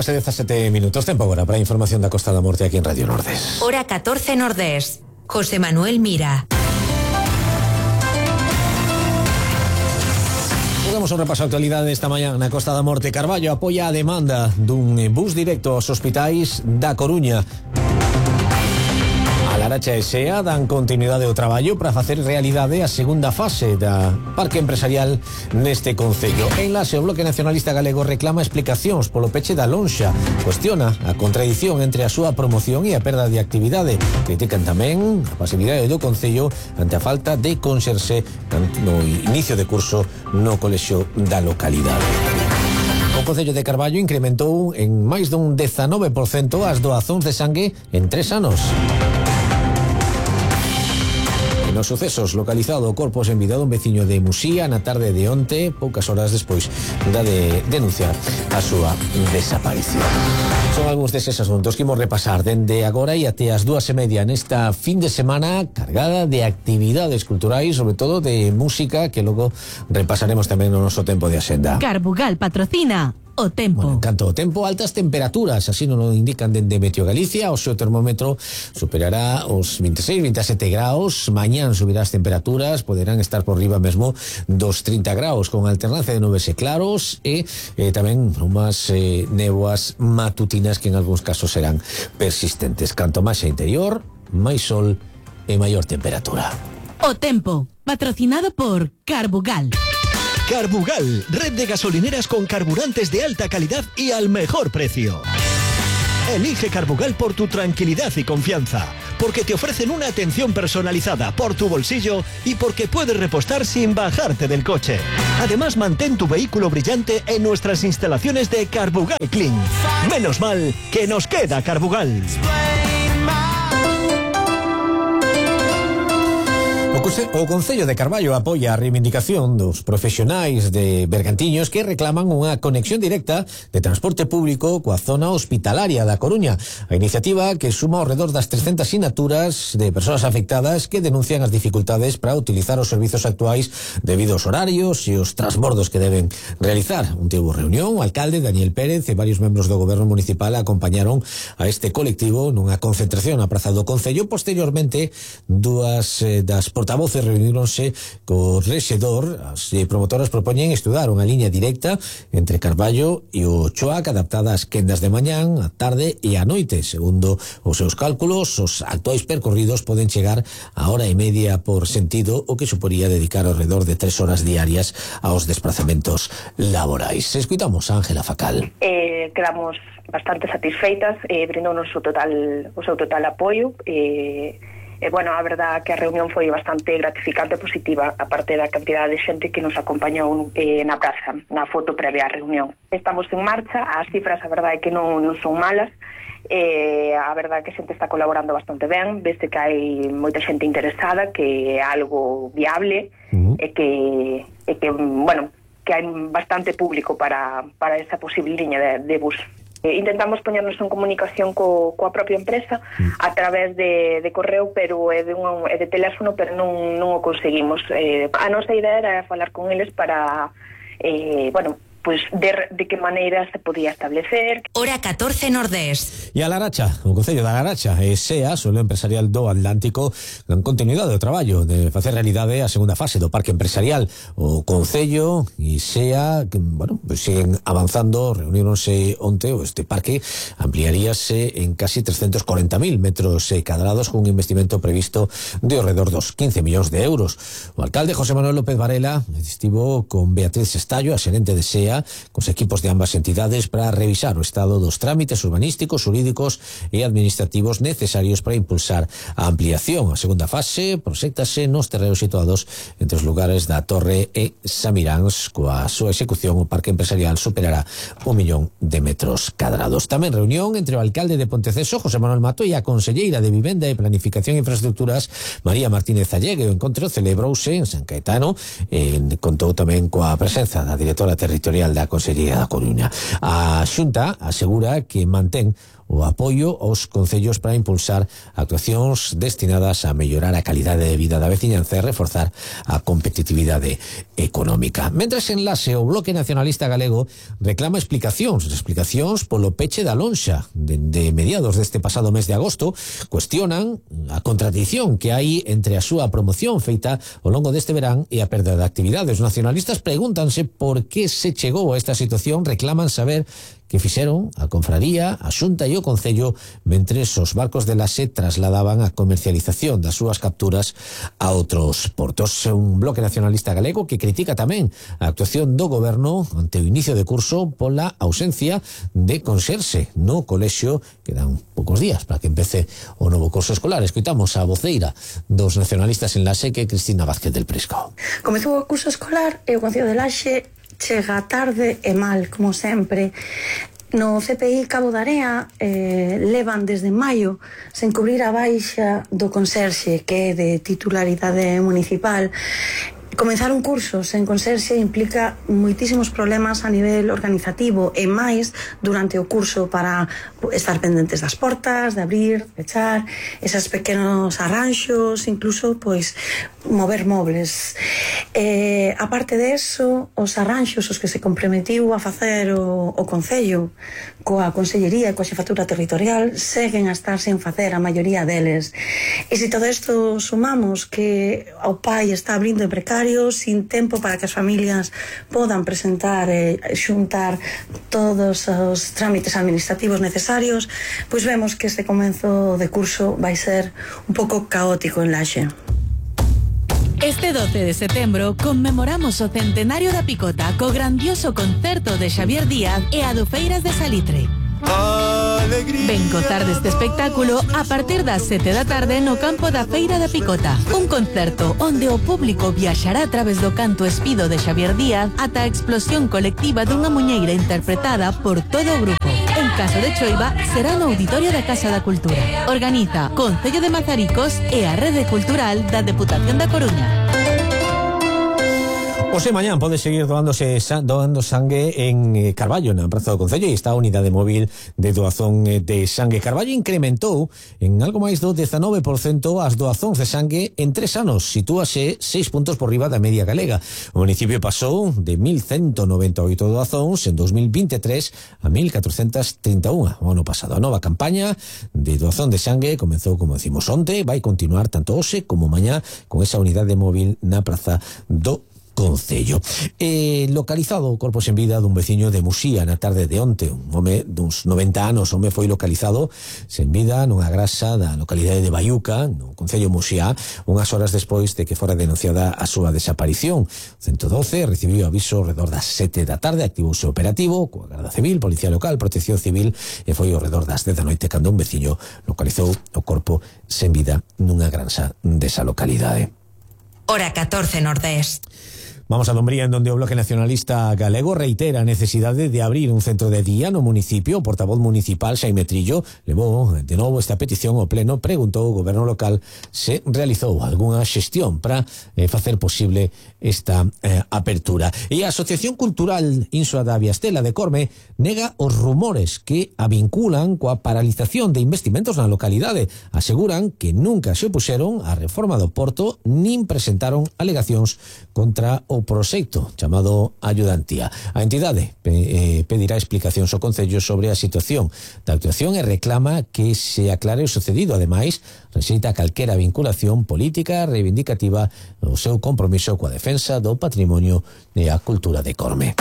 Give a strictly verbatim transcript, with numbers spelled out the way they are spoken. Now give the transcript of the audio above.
cinco e dezasete minutos, tempo agora para a información da Costa da Morte aquí en Radio Nordés. Hora catorce Nordés. José Manuel Mira. Damos un repaso a actualidade esta mañá na Costa da Morte. Carballo apoia a demanda dun bus directo aos hospitais da Coruña. A Laracha e SEA dan continuidade ao traballo para facer realidade a segunda fase da parque empresarial neste concello. En Laxe, o Bloque Nacionalista Galego reclama explicacións polo peche da lonxa. Cuestiona a contradición entre a súa promoción e a perda de actividade. Critican tamén a pasividade do concello ante a falta de conserxe no inicio de curso no colexio da localidade. O Concello de Carballo incrementou en máis dun dezanove por cento as doazóns de sangue en tres anos. Nos sucesos, localizado o corpo sen vida dun veciño de Musía na tarde de onte, poucas horas despois da de denunciar a súa desaparición. Son algúns deses asuntos que imos repasar dende agora e até as dúas e media nesta fin de semana cargada de actividades culturais, sobre todo de música, que logo repasaremos tamén no noso tempo de axenda. Carbugal patrocina o tempo. Bueno, en canto ao tempo, altas temperaturas, así non o indican dende Meteo Galicia. O seu termómetro superará os veintiséis, veintisiete graus. Mañán subirá as temperaturas, poderán estar por riba mesmo dos trinta graus, con alternancia de nubes e claros e eh, tamén unhas eh, néboas matutinas que en algúns casos serán persistentes. Canto máis a interior, máis sol e maior temperatura. O tempo, patrocinado por Carbugal. Carbugal, red de gasolineras con carburantes de alta calidad y al mejor precio. Elige Carbugal por tu tranquilidad y confianza, porque te ofrecen una atención personalizada por tu bolsillo y porque puedes repostar sin bajarte del coche. Además, mantén tu vehículo brillante en nuestras instalaciones de Carbugal Clean. Menos mal que nos queda Carbugal. O Concello de Carballo apoia a reivindicación dos profesionais de Bergantiños que reclaman unha conexión directa de transporte público coa zona hospitalaria da Coruña. A iniciativa, que suma ao redor das trescentas sinaturas de persoas afectadas que denuncian as dificultades para utilizar os servizos actuais debido aos horarios e os transbordos que deben realizar. Un tivo reunión, o alcalde Daniel Pérez e varios membros do goberno municipal acompañaron a este colectivo nunha concentración na Praza do Concello. Posteriormente, dúas eh, das portavoces voces reuníronse co rexedor. As promotoras propoñen estudar unha liña directa entre Carballo e o Choac adaptada ás quendas de mañán, a tarde e a noite. Segundo os seus cálculos, os actuais percorridos poden chegar a hora e media por sentido, o que suporía dedicar ao redor de tres horas diarias aos desplazamentos laborais. Escuitamos a Ángela Facal. Eh, quedamos bastante satisfeitas, eh, brindounos o total, o seu total apoio. eh, E, bueno, a verdad que a reunión foi bastante gratificante e positiva, aparte da cantidad de xente que nos acompañou eh, na praza, na foto previa á reunión. Estamos en marcha, as cifras a verdade é que non, non son malas, eh, a verdade é que a xente está colaborando bastante ben, desde que hai moita xente interesada, que é algo viable, uh-huh. e que, e que, bueno, que hai bastante público para, para esa posible liña de, de bus. Eh, intentamos poñernos en comunicación co, coa propia empresa a través de, de correo, pero é de, un, é de teléfono, pero non, non o conseguimos. Eh, a nosa idea era falar con eles para, eh, bueno, pues de, de que maneira se podía establecer. Hora catorce Nordés. E a Laracha, o Concello da Laracha e SEA, Solo Empresarial do Atlántico, dan continuidade ao traballo de facer realidade a segunda fase do parque empresarial. O Concello e SEA, que, bueno, pues siguen avanzando, reuníronse onte, este parque ampliaríase en casi trescentos corenta mil metros cadrados con un investimento previsto de ao redor dos quince millóns de euros. O alcalde José Manuel López Varela estivo con Beatriz Estallo, a xerente de SEA, cos equipos de ambas entidades para revisar o estado dos trámites urbanísticos, jurídicos e administrativos necesarios para impulsar a ampliación. A segunda fase proxéctase nos terreos situados entre os lugares da Torre e Samiráns. Coa súa execución, o parque empresarial superará un millón de metros cadrados. Tamén reunión entre o alcalde de Ponteceso, José Manuel Mato, e a conselleira de Vivenda e Planificación e Infraestructuras, María Martínez Allegue. O encontro celebrouse en San Caetano e contou tamén coa presenza da directora territorial da Consellería da Coruña. A Xunta asegura que mantén o apoio aos concellos para impulsar actuacións destinadas a mellorar a calidade de vida da veciñanza e reforzar a competitividade económica. Mentres en Laxe, o Bloque Nacionalista Galego reclama explicacións, explicacións polo peche da lonxa de, de mediados deste pasado mes de agosto. Cuestionan a contradición que hai entre a súa promoción feita ao longo deste verán e a perda de actividade. Os nacionalistas pregúntanse por que se chegou a esta situación, reclaman saber que fixeron a Confraría, a Xunta e o Concello mentres os barcos de Laxe trasladaban a comercialización das súas capturas a outros portos. Un Bloque Nacionalista Galego que critica tamén a actuación do Goberno ante o inicio de curso pola ausencia de conserxe no colexio. Quedan poucos días para que empece o novo curso escolar. Escoitamos a voceira dos nacionalistas en Laxe, que é Cristina Vázquez del Prisco. Comezou o curso escolar e o Concello de Laxe chega tarde e mal, como sempre. No C P I Cabo da Area eh, levan desde maio sen cubrir a baixa do conserxe, que é de titularidade municipal. Comenzar un curso sen conserxe implica moitísimos problemas a nivel organizativo e máis durante o curso, para estar pendentes das portas, de abrir, fechar, esos pequenos arranxos, incluso pois mover mobles. Eh, aparte de eso, os arranxos os que se comprometiu a facer o, o Concello coa Consellería e coa Xefatura Territorial seguen a estar sen facer a maioría deles. E se todo isto sumamos que o pai está abrindo en precario, sin tempo para que as familias podan presentar e xuntar todos os trámites administrativos necesarios, pois vemos que este comenzo de curso vai ser un pouco caótico en Laxe. Este doce de setembro conmemoramos o centenario da Picota co grandioso concerto de Xavier Díaz e a do Feiras de Salitre. Ven gozar deste espectáculo a partir das sete da tarde no campo da Feira da Picota. Un concerto onde o público viaxará a través do canto espido de Xavier Díaz ata a explosión colectiva dunha muñeira interpretada por todo o grupo. En caso de choiva, será no Auditorio da Casa da Cultura. Organiza Concello de Mazaricos e a Rede Cultural da Deputación da Coruña. Ose mañán pode seguir doándose doando sangue en eh, Carballo, na Praza do Concello, e está a unidade móvil de doazón eh, de sangue. Carballo incrementou en algo máis do dezanove por cento as doazóns de sangue en tres anos. Sitúase seis puntos por riba da media galega. O municipio pasou de mil ciento noventa e oito doazóns en dos mil veintitrés a mil catrocentas trinta e un o ano pasado. A nova campaña de doazón de sangue comezou, como decimos, onte, vai continuar tanto hoxe como mañá con esa unidade móvil na Praza do Concello. Eh, localizado o corpo sen vida dun veciño de Muxía na tarde de onte. Un home duns noventa anos, o home foi localizado sen vida nunha grasa da localidade de Baiuca, no Concello Muxía, unhas horas despois de que fora denunciada a súa desaparición. ciento doce recibiu aviso ao redor das sete da tarde, activouse o operativo coa Garda Civil, Policía Local, Protección Civil, e foi ao redor das dez da noite cando un veciño localizou o corpo sen vida nunha granja desa localidade. Hora catorce Nordés. Vamos a Dumbría, en donde o Bloque Nacionalista Galego reitera a necesidade de abrir un centro de día no municipio. O portavoz municipal, Xaime Trillo, levou de novo esta petición ao pleno. Preguntou ao goberno local se realizou algunha xestión para eh, facer posible esta eh, apertura. E a Asociación Cultural Insua da Viastela de Corme nega os rumores que a vinculan coa paralización de investimentos na localidade. Aseguran que nunca se opuxeron á reforma do Porto nin presentaron alegacións contra o proxecto chamado Ayudantía. A entidade eh, pedirá explicacións ao Concello sobre a situación da actuación e reclama que se aclare o sucedido. Ademais, rexeita calquera vinculación política reivindicativa o seu compromiso coa defensa do patrimonio e a cultura de Corme.